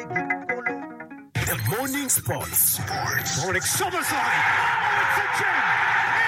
The Morning Sports. Dominic Szoboszlai. Oh, it's a gem!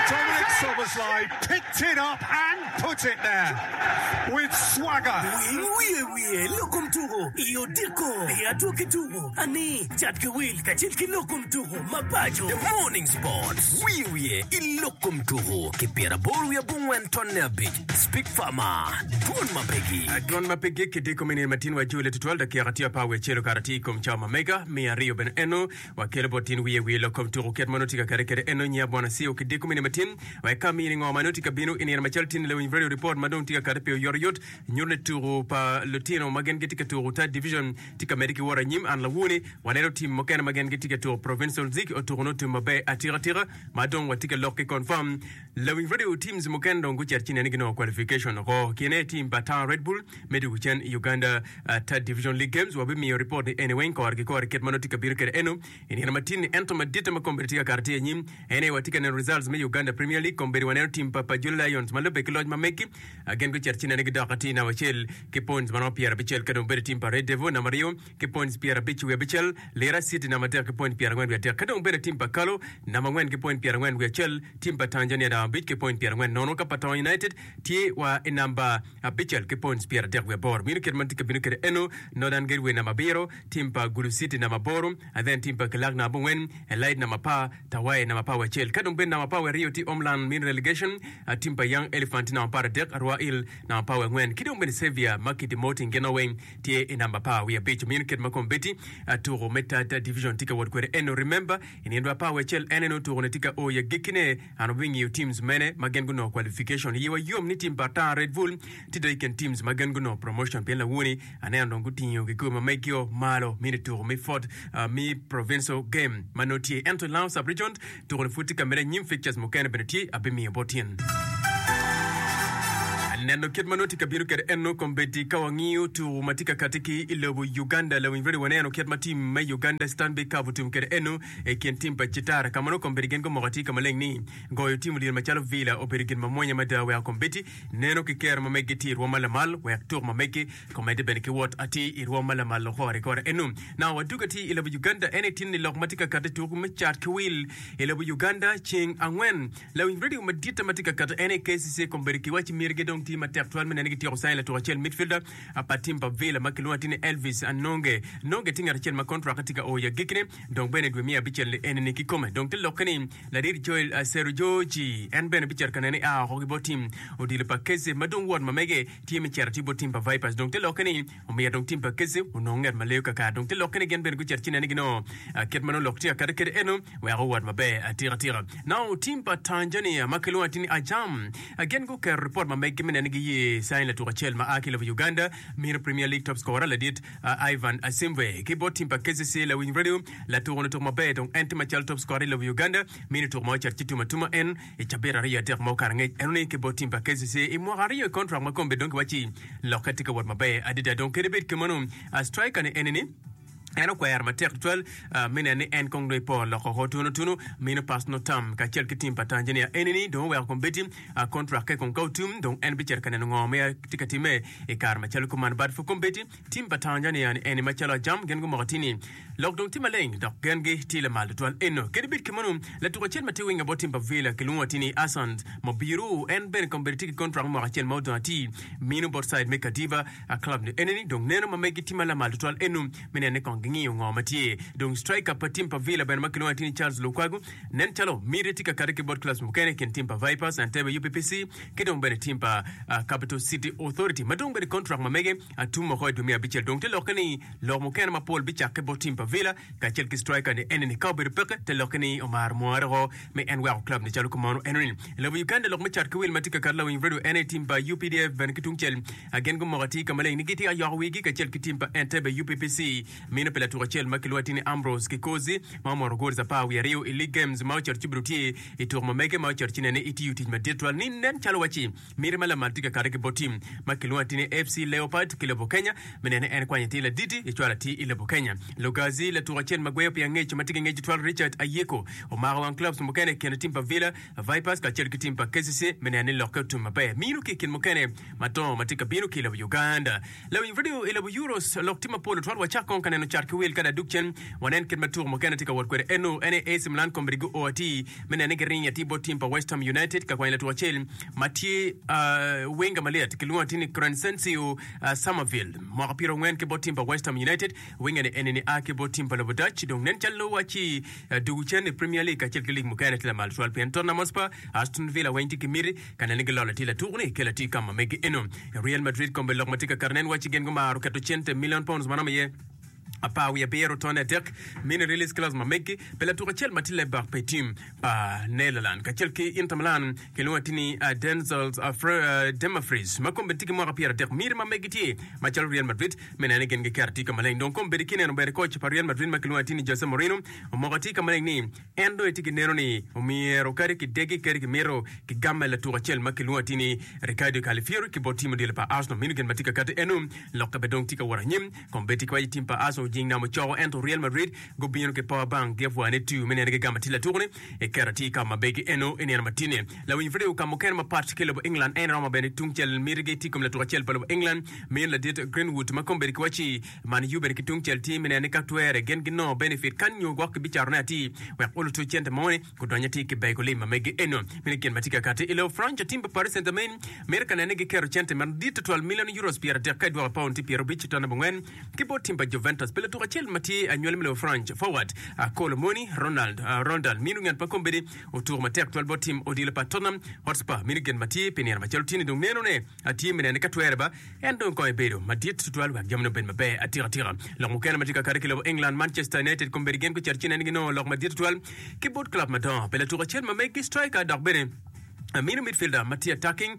Dominic Szoboszlai picked it up and put it there with swagger. Wil wiye wiye lok kom tuko i odiko i adwogi tuko ani cat ki wil kacel ki lok kom tuko ma paco. The Morning Sports. Wiye wiye i lok kom tuko ki pyeraboro wiye abongwen tonne abic. Speak Farmer, Dwon ma pe gik. Dwon ma pe gik i diko me nino matin wa jule tutwal dakika tye apar wiye acel okato atir i kom cawa ma mega miya aryo bene eno wakelo bot tin wiye wiye lok kom tuko kit ma nongo tye ka kate kede eno nyiya bwana Sio ki diko me nino matin wek ka mini ngo ma nongo tye ka bino i nino macalo tin lewiny radio report ma dong tye ka kate pi oyotoyot nyuto ni tuko pa lutino ma gin gitye ka tuko third division tye ka medde ki wot anyim an lawoni waneno tim mukene ma gin gitye ka tuko provincial league otuko nongo tum maber atika tika ma dong watye ka lok ki confirm Lawiny radio teams mukene dong gucito ci nene ginongo qualification oko. Kine team pa Tanga Red Bull me dwogo cen i Uganda Third Division League Games. Wabimiyo report ni eni weng kore ki kore kit ma nongo tye ka bino kwede eno i nino matin ni. Ento maditte ma kombeddi tye ka kato tye anyim en aye watye ka neno results me Uganda Premier League. Kombeddi waneno team pa Pajula Lions ma lubbe ki loc ma meggi gin gucito ci nene gidok atir namba acel ki points ma romo pyerabicel ka dong bedo team pa Red Devil namba aryo ki points 55, Lira City namba adek ki point 43, ka dong bedo tim pa Kalo namba angwen ki point 41, tim pa Tanzania namba abic ki point 40, ka pa Tongo United tye wa i namba abicel ki points 38. Mino kit ma tye ka bino kwede eno, Northern Gateway namba abiro, tim pa Gulu City namba aboro, and then tim pa Kilak namba abongwen, Elite namba apar, Tawai namba apar wiye acel, ka dong bene namba apar wiye aryo tye Homeland mino relegation, tim pa Young Elephant tye namba apar adek, Arua Hill namba apar wiye angwen, ki dong bene Saviour ma ki demoting gin weng tye i namba apar wiye abic. Omyero kit ma kombeddi tuko me Third Division tye ka wot kwede eno. Remember, i nino apar wiye acel en eno tuko ni tye ka o i agikkine. An wabingiyo teams mene ma gin gunongo qualification. Yiwa yom ni team pa Atar Red Bull tye dong i kin teams ma gin gunongo promotion pien lawoni aneno dong gutingo kikopo ma megio malo mini tuko me fourth me provincial game ma nongo tye. Ento i Lango Sub-Region tuko ni pud tye ka medde anyim fixtures mukene bene tye abimiyo bot in. Neno kit ma nongo tye ka bino kwede eno kombeddi ka wangiyo tuku ma tye ka kati ki i lobo Uganda. Lawiny radio waneno kit ma tim me Uganda Stanbic Cup otum kwede eno i kin tim pa Citara ka ma nongo kombeddi gin gumoko atir ka maleng ni goyo tim olyel macalo Villa obedo gin mamwonya mada weko kombeddi neno ki kero ma meggi tye i rwom ma lamal wek tuku ma meggi komedde bene ki wot atir i rwom ma lamal kore kore eno. Na wadwogo atir i lobo Uganda en aye tin ni lok ma tye ka kati tuku me cat ki wil i lobo Uganda ceng angwen. Lawiny radio maditte ma tye ka kato en aye KCC kombeddi kiwacci myergi dong tye matek twal me neno ni gityeko cayo latuk acel midfielder pa tim pa Villa ma kilwongo atir ni Elvis Anonge. Nonge tye ngat acel ma kontrak tye ka o i agikkine dong bene i dwe me abicel ni eni ni kikome. Dong te lokke ni ladit Joel Serujoji en bene bicito ka neno ni a oko ki bot tim odilo pa KCC ma dong wot ma mege tye me cito atir bot tim pa Vipers. Dong te lokke ni omyero dong tim pa KCC onong ngat ma leyo kakare. Dong te lokke ni gin bene gucito ci neno ni ginongo kit ma nongo lok tye akata kwede eno wek owot maber atika tika. Now tim pa Tanzania ma kilwongo atir ni Ajam gin guketo ripot ma meggi me neno ni giye cain latuk acel ma a ki i lobo Uganda mino Premier League top scorer ladit Ivan Asimbwe ki bot tim pa KCC Lawiny Radio latuko-ni otuko maber dong en tye macalo top scorer i lobo Uganda mino tuko ma ocito ci tum atuma en I cabit aryo adek ma okato angec enoni ki bot tim pa KCC i mwaka aryo i kontrak ma kombeddi dong kiwacci lokke tye ka wot maber adada. Dong kadi bed kumeno, striker ni enini en okwero matek tutwal me neno ni en kong dong epor loko oko tunu tunu mino pas no tam kacel ki tim pa Tanzania enini dong oweko kombeddi kontrakke kong ka otum dong en bicito ka neno ngo ma tye ka timme i kare macalo kuman. But for kombeddi Tim pa Tanzania ni eni macalo ajam gin gumoko atir ni lok dong tye maleng dok gengi tye lamal tutwal eno. Kadi bed kemeno, latuk acel ma tye winga bot tim pa Villa kilwongo atir ni Asant Mobiru en bene kombeddi tye ki kontrak me mwaka acel ma odong atir mino bot side me Kadiva club ni eni ni dong neno ma megi tye ma lamal tutwal eno me neno ni kong gingiyo ngo ma tye. Dong striker pa tim pa Villa bene ma kilwongo atir ni Charles Lukwago nen calo miti tye ka kati ki bot clubs mukene i kin tim pa Vipers, Entebbe UPPC ki dong bene tim pa Capital City Authority ma dong bene kontrak ma mege Atum oko i dwe me abicel dong te lokke ni lok mukene mapol bicakke bot tim pa Villa kacel ki striker ni enini ka obedo peke te lokke ni omaro mware oko me en weko club ni calo kumano enoni. I lobo Uganda lok me cat ki wil ma tye ka kato lawiny radio en aye tim pa UPDF bene ki tungcel gin gumoko atir ka maleng ni gitye ka yoko wigi kacel ki tim pa Entebbe UPPC mino pi latuk acel ma kilwongo atir ni Ambrose Kikozi ma omoto goals apar wiye aryo i League Games ma ocito ci obedo tye i tuko ma mege ma ocito ci nene itiyo tic madit twal ni nen calo waci Miti ma lamal tye ka kato ki bot tim ma kilwongo atir ni FC Leopard ki lobo Kenya me neno ni en kwanyo atir laditi ecwalo atir i lobo Kenya. Lugazi. Brazil, latuko acel ma gweyo pi angec ma tye ki ngec tutwal Richard Ayeko omako wang clubs mukene i kine tim pa Villa, Vipers kacel ki tim pa KCC me neno ni lokke otum maber. Mino ki i kin mukene madongo ma tye ka bino ki i lobo Uganda. Lawiny radio i lobo Euros lok tye mapol tutwal. Wacak kong ka neno cat ki wil ka dok dug cen wanen kit ma tuko mukene tye ka wot kwede. Eno en aye AC Milan kombeddi guo atir me neno ni giringo atir bot tim pa West Ham United ka kwanyo latuko acel ma tye winga malyet kilwongo atir ni Crysencio Summerville mwaka pyerangwen ki bot tim pa West Ham United. Winga ni eni ni a ki bot tim pa lobo Dutch dong nen calo wacci dugu cen i Premier League kacel ki lig mukene tye lamal tutwal pien Tottenham Hotspur, Aston Villa weng tye ki miti ka neno ni gilolo atir latuko ni kelo atir ka ma megi eno. Real Madrid kombe lok ma tye ka kato nen wacci gin gumaro keto cente million pounds ma romo iye 18 tone adek mini release clause ma megi pi latuko acel ma tye left back pi tim pa Netherlands kacel ki Inter Milan kilwongo atir ni Denzel Dumfries ma kombeddi tye ki mwaka 30 miti ma megi tye macalo Real Madrid me neno ni gin giketo atir ka maleng. Dong kombeddi ki neno bene koc pa Real Madrid ma kilwongo atir ni Jose Mourinho omoko atir ka maleng ni En dong etye ki neno ni omyero kadi kidegi kadi kimito kigamme latuko acel ma kilwongo atir ni Riccardo Calafiori ki bot tim odilo pa Arsenal. Meno gin ma tye ka kati eno. Lokke bene dong tye ka wot anyim. Kombeddi kiwaco tim pa Arsenal ojing namo coko ento Real Madrid gubino ki power bank gi apwa ne tiyo me neno gigamo atir latuko ni eketo atir ka ma begi eno i nino matine. Lawiny video ka mukene mapat ki lobo England en romo bene tungcel mitigi tye i kom latuko acel pa lobo England min ladit Greenwood ma kombeddi kiwaci Man yubbe ki tungcel tye me neno ni ka twere gin ginongo benefit kany nyo gwok kibicatone atir wek olutu cente mo-ni gudony atir ki bego lim ma megi eno. Meno gin ma tye ka kati i lobo France. Tim pa Paris Saint-Germain mito ka neno ni giketo cente madit tutwal milion euros 30 ka idwoko paun tye 50 ton abongwen ki bot tim pa Juventus pi latuk acel ma tye anywali me lobo France forward Kolo Muani Ronald Rondal mino ngat ma kombeddi otuko matek tutwal bot tim odilo pa Tottenham Hotspur mino gin ma tye pi nino macalo tye-ni dong nenone Atye me neno ni ka twere ba, en dong kong ebedo madit tutwal wek jamine obed maber atika tika. Lok mukene ma tye ka kati ki lobo England, Manchester United kombeddi gin gucito ci neno ginongo lok madit tutwal ki bot club madongo pi latuko acel ma megi striker dok bene mino midfielder ma tye attacking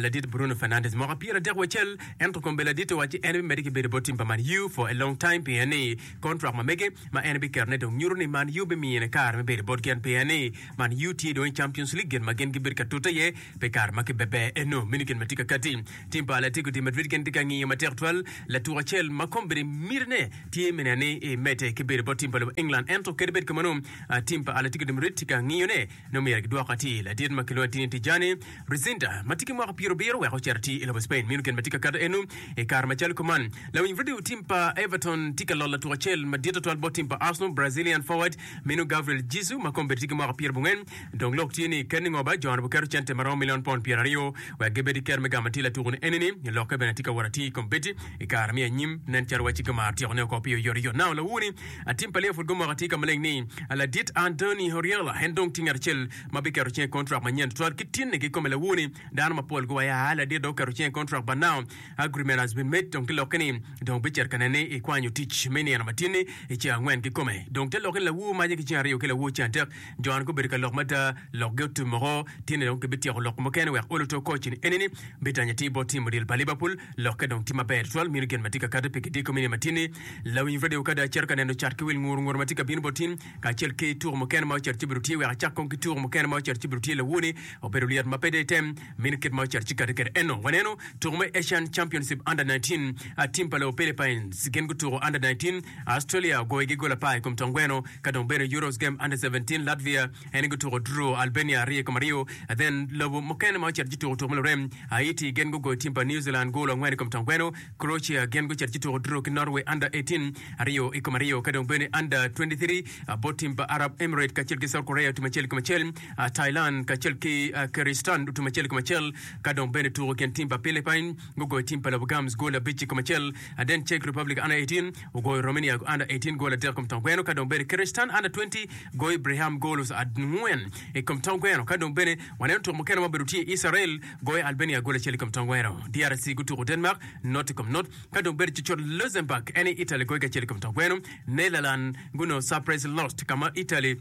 ladit Bruno Fernandes mwaka 31 ento kombeddi ladit owacci en bimedde ki bedo bot tim pa Man U for a long time pien ni contract ma mege ma en biketone dong nyuto ni Man U bimine kare me bedo bot gin pien ni Man U tye dong i Champions League gin ma gin gibedo ka tute iye Pi kare ma kibebe eno, mini gin ma tye ka katti. Tim pa Atletico de Madrid gin tye ka ngiyo matek twal latuko acel ma kombeddi mitine tye me neno ni emedde ki bedo bot tim pa lobo England. Ento kadi bed kumeno, tim pa Atletico de Madrid tye ka ngiyone ni omyero gidwok atir ladit ma kilwongo atir ni Tijani Reijnders ma tye ki mwaka pyerabiro wek ocit atir i lobo Spain. Meno gin ma tye ka katti eno i kare macalo kuman. Lawiny redio tim pa Everton tye ka lolo latuko acel madit twatwal bot tim pa Arsenal, Brazilian forward meno Gabriel Jesus ma kombeddi tye ki mwaka pyerabongwen. Dong lok tye ni, kadi ningo ba jo-ni guketo cente ma romo milion pon 20 wek gibed ki kero me gamo atir latuko-ni enini. Lokke bene tye ka wot atir i kom bedi i kare me anyim. Nen calo wacci gumaro tyekone oko pi oyotoyot. Now, lawur-ni, atim pa Liverpool gumoko atir ka maleng ni ladit Andoni Oriola en dong tye ngat acel ma biketo cinge i kontrak manyen tutwal ki tinne kikome. Lawur-ni, dano mapol guwaco aa ladit dong oketo cinge i kontrak but now agreement has been made dong te lokke ni dong bicito ka nene ni ikwanyo tic me nino ma tinni i ceng angwen kikome. Dong te lokke ni lawur maje ki ceng aryo ki lawur ceng adek. Jo-ni gubedo ka lok mada, lokgi otum woko. Tye-ni dong gibityeko lok mukene wek olo to koc-ni. Enini bitanyo atir bot tim odilo pa Liverpool. Lokke dong tye maber tutwal, mino gin ma tye ka kati pi kidiko mini matin-ni. Lawiny radio ka dong acito ka neno cat ki wil ngur ngur ma tye ka bino bot tin, kacel ki tuko mukene ma ocito ci obedo tye. Wek acak kong ki tuko mukene ma ocito ci obedo tye lawoni, obedo lyet ma pe dong item. Mino kit ma ocito ci kati kwede eno. Waneno tuko me Asian Championship Under 19, tim pa lobo Philippines gin gutuko Under 19, Australia ogoyogi gol apar i kom tongweno. Ka dong bedo Euros Game Under 17, Latvia en gutuko draw Albania 2-2. Then lobo mukene ma ocito ci tuko tuko me lurem, Haiti gin gugoyo tim pa New Zealand gol angwen i kom tongweno. Croatia gin gucito ci tuko draw ki Norway Under 18 2-2. Ka dong bene Under 23 bot tim pa Arab Emirate kacel ki South Korea otum acel i kom acel. Thailand kacel ki Kyrgyzstan otum acel i kom acel. Ka dong bene tuko i kin tim pa Philippines gugoyo tim pa lobo Gams gol abic i kom acel. Then Czech Republic Under 18 Ogoyo Romania Under 18 gol adek i kom tongweno ka dong bene Kyrgyzstan Under 20 goyo Ibrahim golos angwen i kom tongweno ka dong bene waneno tuko mukene ma obedo tye Israel goyo Albania gol acel i kom tongweno DRC gutuko Denmark not i kom not ka dong bene cucut Luxembourg en aye Italy goyo ki acel i kom tongweno Netherland gunongo surprise lost ka ma Italy.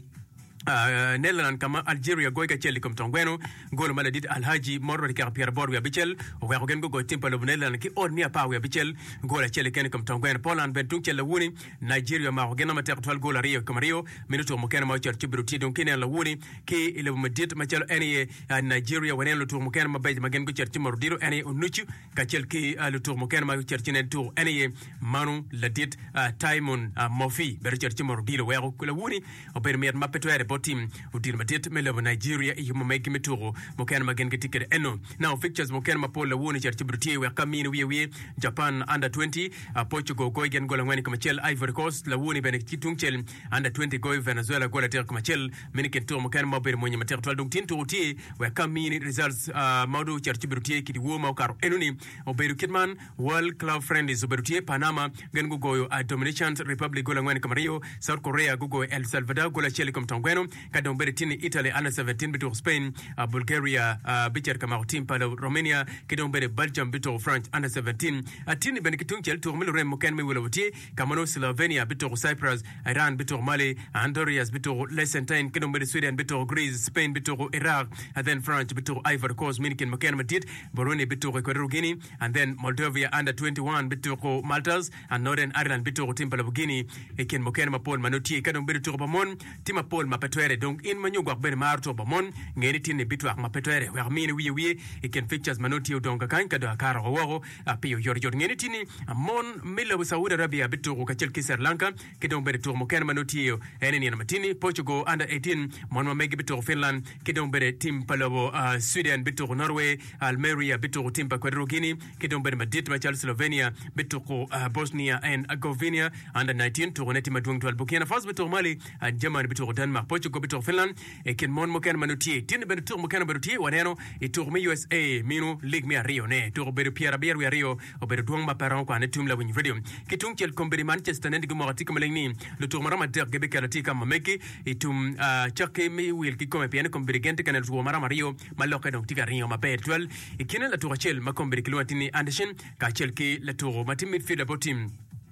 Netherlands ka ma Algeria goyo ki acel i kom tong gweno. Golo ma ladit Alhaji Moro dakika pyeraboro wiye abicel oweko gin gugoyo tim pa lobo Netherlands ki ot miya apar wiye abicel gol acel keken i kom tong gweno. Poland bene tungcel lawuni Nigeria omako gin matek tutwal gol aryo i kom aryo. Meno tuko mukene ma ocito ci obedo tye dong ki neno lawuni ki i lobo madit macalo en aye Nigeria. Waneno lutuko mukene mabeco ma gin gucito ci moto odilo en aye Onucu kacel ki lutuko mukene ma gucito ci nen tuko en aye Manu ladit Timon Murphy bene ocito ci moto odilo weko lawuni Obedo mit ma pe twere bot tim odilo madit me lobo Nigeria i yub ma meggi me tuko mukene ma gin gitye kwede eno. Now fixtures mukene mapol lawoni ocito ci obedo tye wek ka mini wiye wiye Japan under 20, Portugal goyo gin gol angwen i kom acel, Ivory Coast lawoni bene ki tungcel under 20 goyo Venezuela gol adek i kom acel. Meno i kin tuko mukene ma obedo mwonyo matek twal dong tin tuko tye wek ka mini results ma dong ocito ci obedo tye i dyewor ma okato enoni obedo kit man. World Club Friendlies obedo tye, Panama gin gugoyo Dominican Republic gol angwen i kom aryo, South Korea gugoyo El Salvador gol acel i kom tong gweno, ka dong bedo tye ni Italy Under 17 bituko Spain, Bulgaria bicito ka mako tim pa Romania ki dong bene Belgium bituko France Under 17. Tye-ni bene ki tungcel tuko me lurem mukene me wi lobo tye ka ma nongo Slovenia bituko Cyprus, Iran bituko Mali, Honduras bituko Liechtenstein ki dong bene Sweden bituko Greece, Spain bituko Iraq, then France bituko Ivory Coast. Meno i kin mukene madit, Burundi bituko Equatorial Guinea, And then Moldovia under 21 bituko Maltas and Northern Ireland bituko tim pa lobo Guinea i kin mukene mapol ma nongo tye. Ka dong bedo tuko pa mon tye mapol ma pe twere dong in ma nyo gwok bene maro tuko pa mon nge ni tinni bitwak ma pe twere wek amini wiye wiye i kin fixtures ma nongo tye odong kakany ka dong akato oko woko piyo oyotoyot. Nge ni tinni mon me lobo Saudi Arabia bituko kacel ki Sri Lanka ki dong bene tuko mukene ma nongo tye en i nino ma tinni Portugal under 18 mon ma megi bituko Finland ki dong bene tim pa lobo Sweden bituko Norway. Almeria bituko tim pa Equatorial Guinea ki dong bedo madit macalo Slovenia bituko Bosnia and Herzegovina Under 19 tukone tye madwong twal. Burkina Faso bituko Mali, Germany bituko Denmark, Portugal bituko Finland. I kin mon mukene ma nongo tye tye ni bene tuko mukene obedo tye waneno i tuko me USA mino lig me aryo ne tuko obedo pyerabiro wiye aryo obedo dwong ma pe romo kwane tum lawiny radio. Ki tungcel kombeddi Manchester nen gumoko atika maleng ni lutuko maromo adek gibiketo atir ka ma megi i tum cakki me wil kikome pien ni kombeddi gin tye ka neno two maromo aryo ma lokke dong tye ka ringo maber tutwal. I kine latuko acel ma kombeddi kilwongo atir ni Anderson kacel ki latuko ma tye midfielder bot tim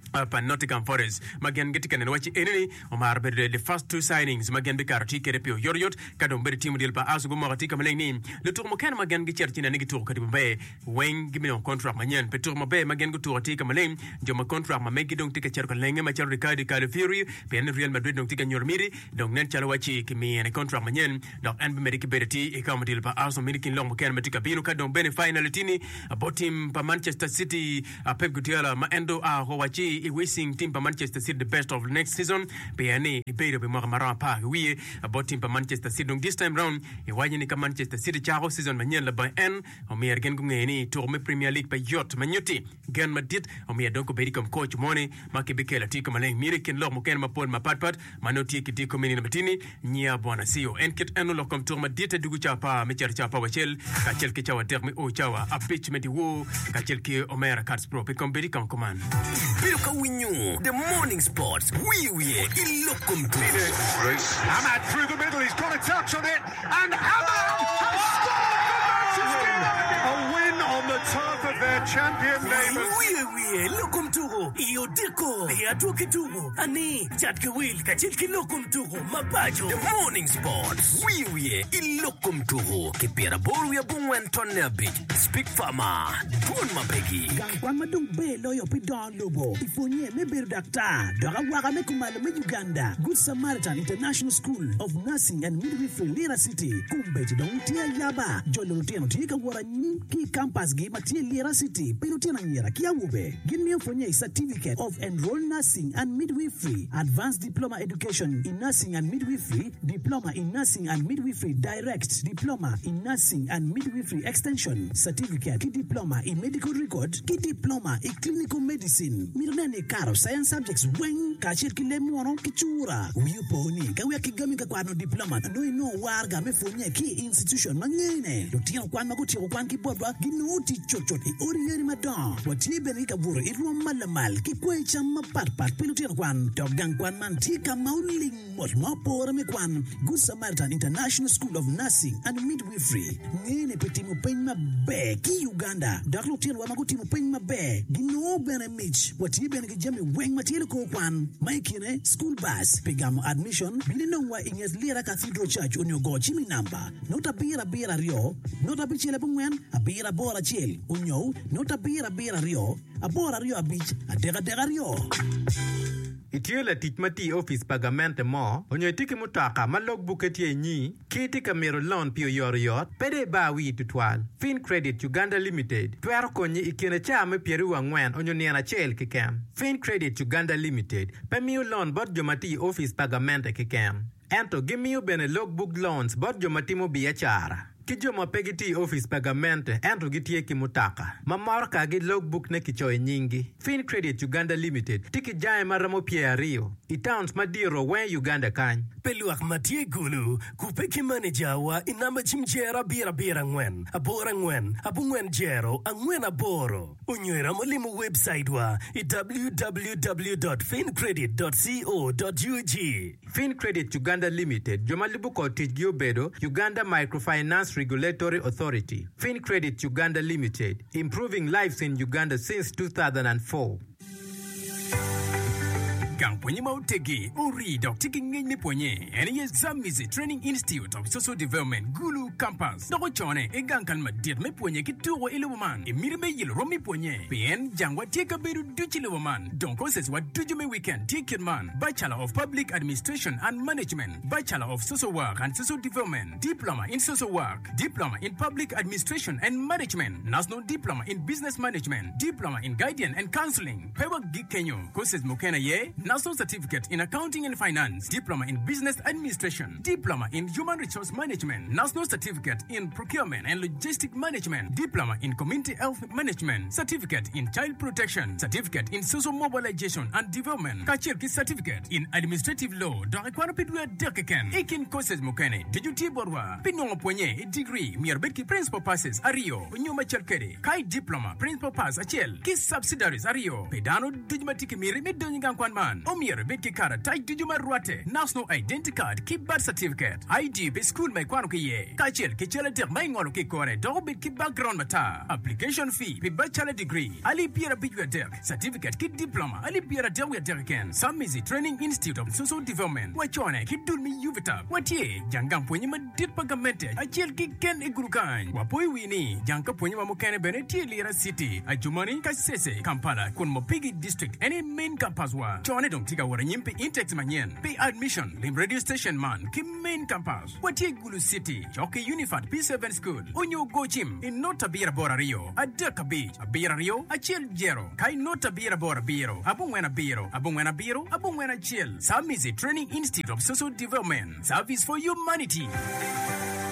pa Nottingham Forest ma gin gitye ka neno wacci enini omaro bedo the first two signings ma gin bikato tye kwede pi oyotoyot ka dong bedo tim odilo pa Arsenal gumoko atir ka maleng ni lutuko mukene ma gin gicito ci neno ni gituko kadi maber weng gibinongo kontrak manyen pi tuko maber ma gin gutuko atir ka maleng jo ma kontrak ma meggi dong tye ka cito ka lenge macalo Riccardo Calafiori pien ni Real Madrid dong tye ka nyuto miti dong nen calo wacci kimine kontrak manyen Dok en bimedde ki bedo atir i kama odilo pa Arsenal mini kin lok mukene ma tye ka bino ka dong bene final tye-ni bot tim pa Manchester City. Pep Guardiola ma en dong oa oko wacci i wishing tim pa Manchester City the best of next season pien ni ebedo pi mwaka maromo apar ki wiye bot tim pa Manchester City. Dong this time round iwaco ni ka Manchester City cako season manyen labongo en omyero gin gunge ni tuko me Premier League pe yot ma nyutti gen madit omyero dong gubed i kom coach moni ma kibikelo atir ka maleng myero i kin lok mukene mapol mapatpat ma nongo tye ki diko me nino matini nyiya Bwana Siyo. En kit eno lok kom tuko maditte dugu cawa apar me cito cawa apar wacel kacel ki cawa adek me o cawa abic me dyewor kacel ki omera Kats Pro pi kom bedi kong kuman. Ibedo ka winyo The Morning Sports wiye wiye i lok kom tuko. Amad through the middle, he's got a touch on it and Amad has scored for Manchester United! A win on the turf of their champion neighbours. Wiye wiye lok kom tuko i odiko i adwoki tuko ani Cat ki wil kacel ki lok kom tuko ma paco. The Morning Sports, wiye wiye i lok kom tuko ki pyeraboro wiye abongwen tonne abic, Speak Farmer, dwon ma pe gik. Gang kwan ma dong ber loyo pi dongo lobo i pwonye me bedo daktar dok awaka me kumalo me Uganda, Good Samaritan International School of Nursing and Midwifery Lira City, kombeddi dong tye ayaba. Jolo lutino tye ka wot anyim ki i kampasgi ma tye i Lira City pi lutino anyira ki awobe. Gin miyo pwonye i Certificate of Enrolled Nursing and Midwifery, Advanced Diploma Education in Nursing and Midwifery, Diploma in Nursing and Midwifery Direct, Diploma in Nursing and Midwifery Extension, Certificate ki Diploma i Medical Record ki Diploma i Clinical Medicine. Mito nen ni ikato Science Subjects weng kacel ki leb munu ki cura. Wi opo ni ka wek kigami ka kwano diploma nongo inongo waraga me pwonye ki i institution ma ngene. Lutino kwan ma gutyeko kwan ki botwa ginongo tic cutcut i odi yadi madongo. Watye bene ki kabuto. buto i rwom ma lamal ki kwayi cam mapat pat pi lutino kwan. Dok gang kwan man tye ka ma oling mot ma opore me kwan. Good Samaritan International School of Nursing and Midwifery ngene pi timo peny maber ki i Uganda dok lutinowa ma gutimo peny maber ginongo bene mic. Watye bene ki jami weng ma tye likor kwan ma i kine school bus pi gamo admission. Bin inongwa i nget Lira Cathedral Church onyo go cim i namba not abiro abiro aryo not abicel abongwen abiro aboro acel onyo not abiro abiro aryo aboro aryo abic adek adek aryo. Itye latic ma tye i opic pa gamente mo onyo itye ki mutoka ma log bukke tye inyi ki itye ka mito loan pi oyotoyot? Pe dong ibar wii tutwal. Fincredit Uganda Limited twero konyi i kine caa me pyeraryo angwen onyo nino acel keken. Fincredit Uganda Limited pe miyo loan bot jo ma tye i opic pa gamente keken. Ento gimiyo bene log book loans bot jo ma timo biacara ki jo ma pe gitye i opic pa gamente ento gitye ki mutoka ma motokagi log book ne kicoyo i nyinggi. Fincredit Uganda Limited tye ki jange ma romo pyeraryo i towns madito weng i Uganda kany. Pe lwak ma tye i Gulu, kubbe ki maneja wa i namba cim jero abiro abiro angwen aboro angwen abongwen jero angwen aboro. Onyo iromo limo webcaitwa i www dot fincredit dot co dot ug. Fincredit Uganda Limited, jo ma lubo kor ticgi obedo, Uganda Microfinance Regulatory Authority, Fincredit Uganda Limited, Improving lives in Uganda since 2004. Gang pwonye ma oteggi, orii dok tye ki ngec me pwonye en aye Zambezi Training Institute of Social Development, Gulu Campus, dok ocone i gang kal madit me pwonye ki tuko i lobo man i miti me yelo rom me pwonye pien jangwa tye kabedo ducu i lobo man. Dong courses wa ducu me weekend tye kit man, Bachelor of Public Administration and Management, Bachelor of Social Work and Social Development, Diploma in Social Work, Diploma in Public Administration and Management, National Diploma in Business Management, Diploma in Guidance and Counseling. Pe wagik kenyo, courses mukene aye, National Certificate in Accounting and Finance, Diploma in Business Administration, Diploma in Human Resource Management, National Certificate in Procurement and Logistic Management, Diploma in Community Health Management, Certificate in Child Protection, Certificate in Social Mobilization and Development, kacel ki Certificate in Administrative Law dok ikwano pi dwe adek keken. I kin courses mukene ducu tye botwa. Pi nongo pwonye i digri, myero ibed ki Principal Passes aryo nyo macal kwede, ka i Diploma, Principal Pass acel ki Subsidiaries aryo. Pi dano ducu ma tye ki miti me donyo i gang kwan man, omyero ibed ki karatac ducu ma rwatte, National Identity Card ki Birth Certificate, ID pi cukul ma ikwano ki iye, kacel ki cal adek ma ingolo ki i kore dok obed ki background matar. Application fee pi Bachelor Degree, alip pyerabic wiye adek, Certificate ki Diploma, alip pyeradek wiye adek keken. Samizi Training Institute of Social Development, wacone ki dul me UVTAB. Watye jang gang pwonye madit pa gamente acel keken i gudo kany. Wapoyo wii ni jang ka pwonye wa mukene bene tye i Lira City, Adjumani, Kasese, Kampala kun Mopigi District en aye main campus wa. Cone dong tye ka wot anyim pi intakes manyen pi admission, lim radio station man ki main campus. Watye i Gulu City, cok ki Unifat P7 School, onyo go cim i not abiro aboro aryo, adek abic, abiro aryo, acel jero, ka i not abiro aboro abiro, abongwen abiro, abongwen abiro, abongwen acel. Samizi Training Institute of Social Development, Service for Humanity.